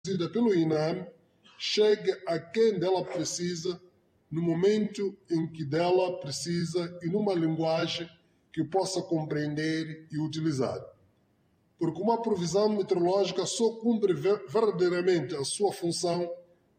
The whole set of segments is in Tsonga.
Produzida pelo INAM chegue a quem dela precisa, no momento em que dela precisa e numa linguagem que possa compreender e utilizar. Porque uma previsão meteorológica só cumpre verdadeiramente a sua função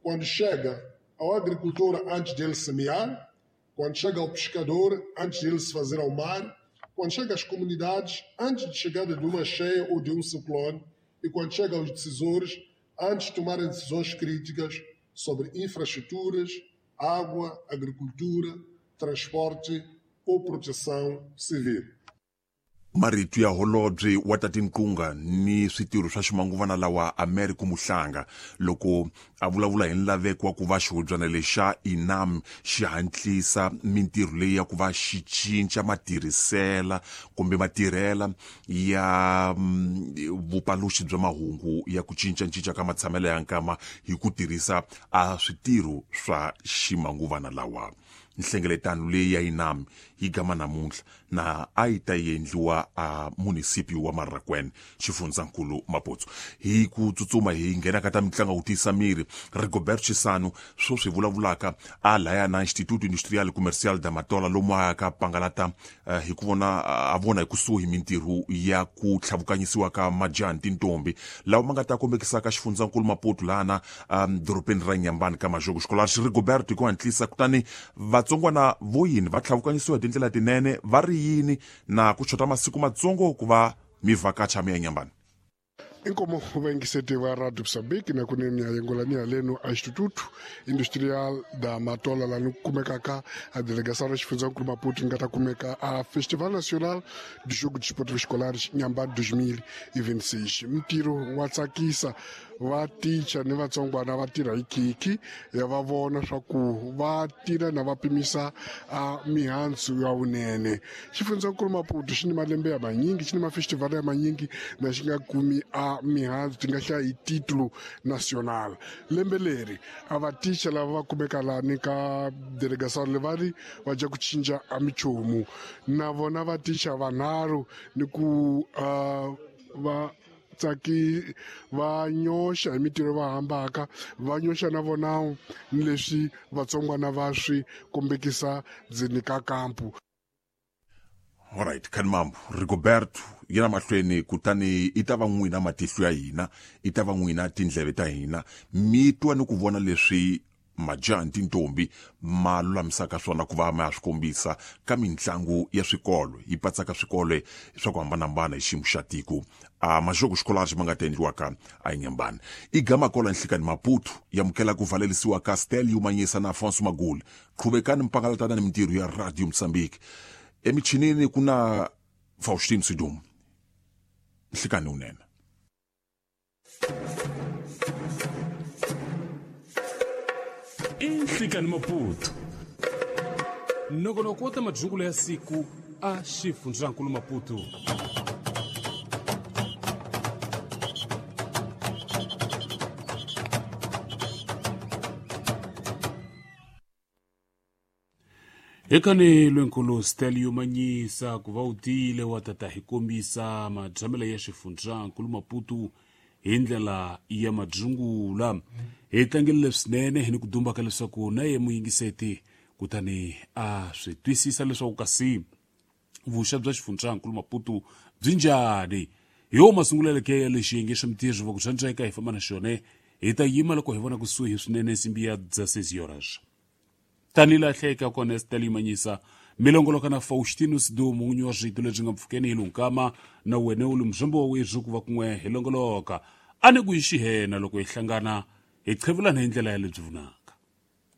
quando chega ao agricultor antes dele semear, quando chega ao pescador antes dele se fazer ao mar, quando chega às comunidades antes de chegada de uma cheia ou de um ciclone e quando chega aos decisores antes de tomarem decisões críticas sobre infraestruturas, água, agricultura, transporte ou proteção civil. Marito ya holobye wa ta tinqunga ni switirho swa ximanguvana lawa America Muhlanga loko a vulavula hi nlaveko wa ku va xihubyana lexa INAM xi hatlisa mintirho leyi ya ku va xi cinca matirhisela kumbe matirhela ya vupaluxi bya mahungu ya ku cincacinca ka matshamelo ya nkama hi ku tirhisa a switirho swa ximanguvana lawa. Nhlengeletano leyi ya INAM yi gama namuntlha na a yi ta endliwa a munisipio wa Marracuene, xifundzankulu Maputo. Hi ku tsutsuma hi nghena ka ta mitlangu ku tiyisa miri, Rigobert Chisano sweswi vulavulaka a laya na Instituto Industrial Comercial da Matola lomu a ka pangalata hi ku vona a vona hi kusuhi mintirho ya ku tlhavukanyisiwa ka majaha ni tintombi lawa ma nga ta kombekisaka xifundzankulu Maputo lana dorobeni ra Nyambani ka Majoko. Xikolari Rigobert hi ku hatlisa kutani vatsongwana vo yini va tlhavukanyisiwa hi tindlela tinene va ri yini na ku xota masiku matsongo ku va mi vhakacha mi ya Nyambani. Inkomo vaingiseti va Radio Moçambique na kunene ya yengolani haleno a Instituto Industrial da Matola lani kumekaka a delegação ra xifundzankulu Maputo nga ta kumeka a Festival Nacional do Jogo de Esportes Escolares Inhambane 2026. Mintirho wa tsakisa, va ticha ni vatsongwana va tirha hi khikhi ya va vona swa ku va tirha na va pimisa a mihandzu ya vunene. Xifundzankulu Maputo xi ni malembe ya manyingi, xi ni mafestival ya manyingi na xi nga kumi a mihandzu ti nga hlaya hi titulo national. Lembe leri a va ticha lava va kumeka lani ka delegação le va ri va dya ku cinca a minchumu na vona va ticha vanharhu ni ku va tsaki va nyoxa hi mintirho va hambaka va nyoxa na vona ni leswi vatsongwana va swi kombekisa ndzeni ka kampu. Alright, Khanimambu Rigoberto yena mahlweni kutani i ta va n'wina matihlo ya hina, i ta va n'wina tindleve ta hina, mi twa ni ku vona leswi majaha ni tintombi ma lulamisaka swona ku va ma ya swi kombisa ka mitlangu ya swikolo yi patsaka swikolo swa ku hambanahambana hi xiyimo xa tiko a majoko xikolari ma nga ta endliwaka a Inhambane. I gama kola nhlikani Maputo yamukela ku valelisiwa ka Stelio Manyisa na Afonso Maguli. Qhubekani mpangalatana ni mintirho ya Radio Mozambique. Emichinini ku na Faustino Sidum. Nhlikani unene. Inhlikani Maputo nongonoko wa ta madyungulo ya siku a xifundzankulu Maputo. Hekani lwenkulu Stelio Manyisa ku va u tile wa tata hi kombisa madyamelo ya xifundzankulu Maputo hi ndlela ya madyungula. Hi tlangele swinene hi ni ku dumba ka leswaku na ye muyingiseti kutani a swi twisisa leswaku kasi vuxa bya xifundzankulu Maputo byi njhani. Hi wo masunguleleke ya lexi xiyenge xa mintirho va ku tsandzeka hi famba na xona hi ta yima loko hi vona kusuhi swinene nsimbi ya 16 horas. Tani lahleka kona Stelio Manyisa milongoloka na Faustino Sidumo n'winyi wa swito lebyi nga mpfhukeni hi lunkama na wena u li muzombo wa wethu ku va kun'we hi longoloka. A ni ku yi xihena loko hi hlangana hi qhevulana hi ndlela ya lebyi vunanga.